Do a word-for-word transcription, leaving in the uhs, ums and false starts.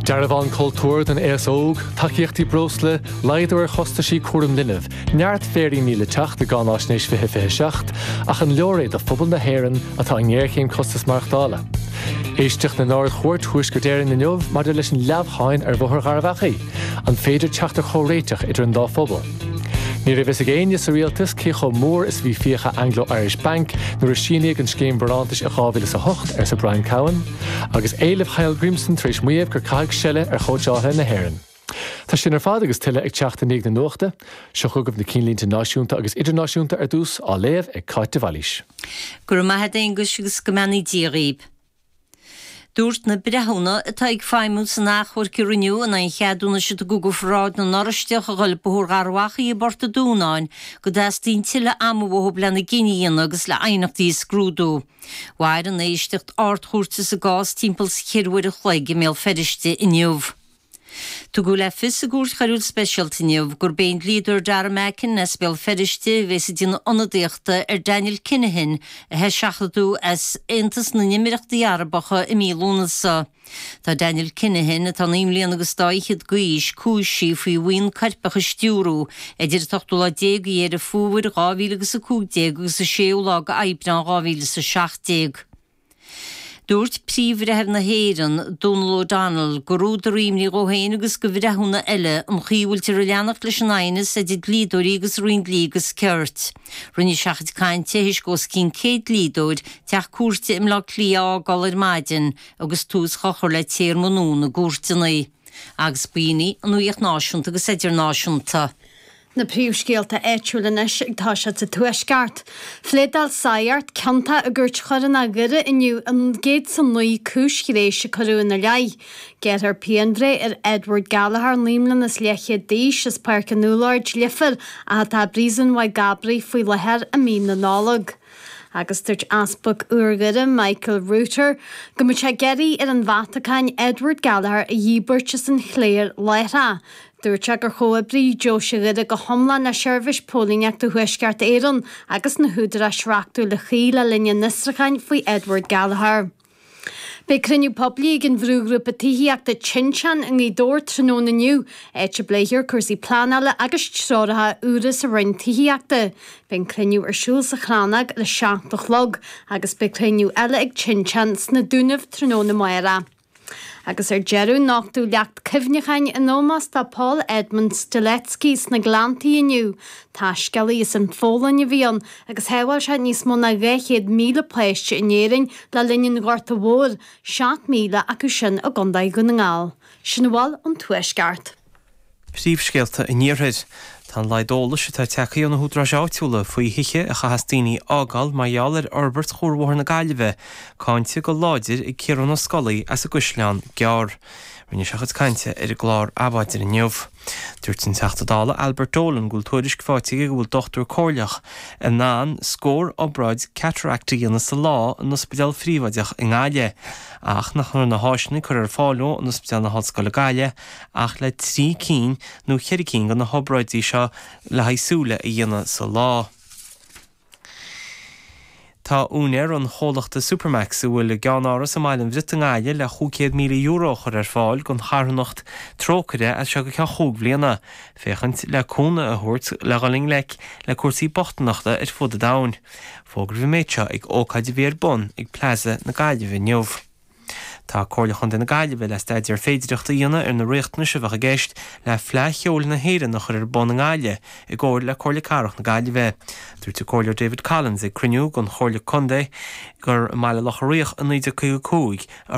Dearbhán cultúir don aos óg, tacaíochtaí breosla, laghdú ar chostaisí cúram linbh, neart féiríní le teacht i gCáináisnéis fiche fiche seacht, ach an leor é do phobal na hÉireann atá i ngéarchéim costas maireachtála. Éisteacht in Ard-Chúirt Thuaisceart Éireann inniu maidir leis an leamhcháin ar Bhóthar Gharbh Achaidh, an féidir teacht ar chomhréiteach idir an dá phobal. Ní raibh fhios ag éinne sa rialtas cé chomh mór is bhí fiacha Anglo-Irish Bank nuair a síníodh an scéim barántais i dhá mhíle is a hocht arsa Brian Cowen, agus éilimh Hallgrímsson tar éis maíomh gur caitheadh seile ar chóitseálaithe na hÉireann. Tá sin ar fad agus tuilleadh ag teacht i ndiaidh na nuachta, seo chugaibh na cinnlínte náisiúnta agus idirnáisiúnta ar dtús á léamh ag Cáit de Bhailís. Go raibh maith agat Aonghus agus go mbeannaí Dia dhaoib. Dúirt na breithiúna atá ag feidhmiú san achomharc a rinneadh in aghaidh an cheadúnais a tugadh do pharáid na nOráisteach a dhul Bóthar Gharbh Achaidh i bPort an Dúnáin go dteastaíonn tuilleadh ama uathu lena gcinneadh a dhéanamh agus le haighneachtaí a scrúdú. Mhair an éisteacht ardchúirte sa gcás timpeall is ceithre uair a chloig i mBéal Feirste inniu. Tugadh le fios i gcúirt choiriúil speisialta inniu gurb é an dlíodóir Dara Mackin as Béal Feirste a bheas ag déanamh ionadaíochta ar Daniel Kinahan a seachadadh as Aontas na nÉimíríochtaí Arabacha i mí Lúnasa. Tá Daniel Kinahan atá naoi mbliana agus dá fhichead d'aois cúisithe faoi bhuíon coirpeach a stiúradh idir an t-ochtú lá déag de Dheireadh Fómhair dhá mhíle agus a cúig déag agus an séú lá d'Aibreán dhá mhíle is a seacht déag. Dúirt Príomh-Bhreitheamh na hÉireann, Donal O'Donnell, gur údar imní dó féin agus do bhreithiúna eile an chaoi a bhfuiltear ag leanacht leis an aighneas idir dlíodóirí agus Roinn Dlí agus Cirt. Rinne sé a chuid cainte théis os cionn céad dlíodóir teach cúirte i mBleá Cliath a fhágáil ar maidin agus tús á chur le téarma nua na gcúirteanna. Agus b'in í an nuacht náisiúnta agus idirnáisiúnta. Na príomhscéalta áitiúla anois ag toiseacht sa Tuaisceart. Phléadáil Sagart ciontach i gcúirt choiriúil Dhoire inniu an gcéad is a naoi cúis ghnéis a cuireadh ina leith. Gearrthar pianbhreith ar Edward Gallagher naoi mbliana is leathchéad d'aois as Páirc an Úlloird, Leifear, ach atá i bpríosún Mhaigh gCabraí faoi láthair i mí na Nollag. Agus dúirt Easpag Iúr Michael Rutter go mbeadh sé ag iarraidh ar an Vatacáin Edward Gallagher a dhíbirt as an chléir láithreach. Dúirt sé gur chomhoibrigh Deoise Dhoire go hiomlán le seirbhís póilíneachta Thuaisceart Éireann agus na húdaráis reachtúla chuí le linn an fhiosrúcháin faoi Edward Gallagher. Beidh cruinniú poiblí ag an bhrúghrúpa tithíochta Tinteán i nGaoth Dobhair tráthnóna inniu, áit a bpléifear cúrsaí pleanála agus treoracha úra sa Roinn Tithíochta. Beidh an cruinniú ar siúl sa Chrannóg ar a seacht a chlog agus beidh cruinniú eile ag Tinteán sna Dúnaibh tráthnóna amárach. Agus ar deireadh nochtadh leacht cuimhneacháin in ómós do Paul Edmund Strzelecki sna Gleanntaí inniu. Taiscéalaí as an Pholainn a bhí ann agus shábháil sé níos mó ná dhá chéad míle páiste in Éirinn le linn an Ghorta Mhóir, seacht míle acu sin i gContae Dhún na nGall. Sin a bhfuil ón Tuaisceart. Príomhscéalta an Iarthair. Tá an laghad eolais atá tagtha ó na húdaráis áitiúla faoi thithe a chaithfeas daoine a fhágáil mar gheall ar fhorbairt Chuarbhóthar na Gaillimhe, cáinte go láidir ag Ciarán Ó Scolaí as an gCaisleán Gearr. Rinne sé a chuid cainte ar an gclár Adhmhaidin inniu. Dúirt an Teachta Dála Albert Dolan go bhfuil tuairisc faighte aige go bhfuil dochtúir comhairleach in ann scór obráid cataract a dhéanamh sa lá in ospidéal phríobháideach i nGaillimh, ach nach raibh na háiseanna curtha ar fáil dó in Ospidéal na hOllscoile Gaillimh ach le trí cinn nó ceithre cinn de na hobráidí seo le haghaidh súile a dhéanamh sa lá. Tá úinéir an chomhlachta Supermac's a bhfuil a gceannáras i mBaile an Bhriotaigh i nGaillimh le cúig chéad míle euro a chur ar fáil don charthanacht Trócaire as seo go ceann chúig bhliana, féachaint le cúnamh a thabhairt le dhul i ngleic le cúrsaí bochtaineachta ar fud an domhain. Fógraíodh an méid seo ag ócáid a bhí ar bun ag Plaza na Gaillimhe inniu. Tá Comhairle Chontae na Gaillimhe le staidéar féidireachta a dhéanamh ar na riachtanais a bheadh i gceist le Fleadh Cheoil na hÉireann a chur ar bun i nGaillimh i gcomhar le Comhairle Cathrach na Gaillimhe. Dúirt an Comhairleoir David Collins ag cruinniú den Chomhairle Contae gur i mBaile Locha Riach i naoi déag caoga cúig a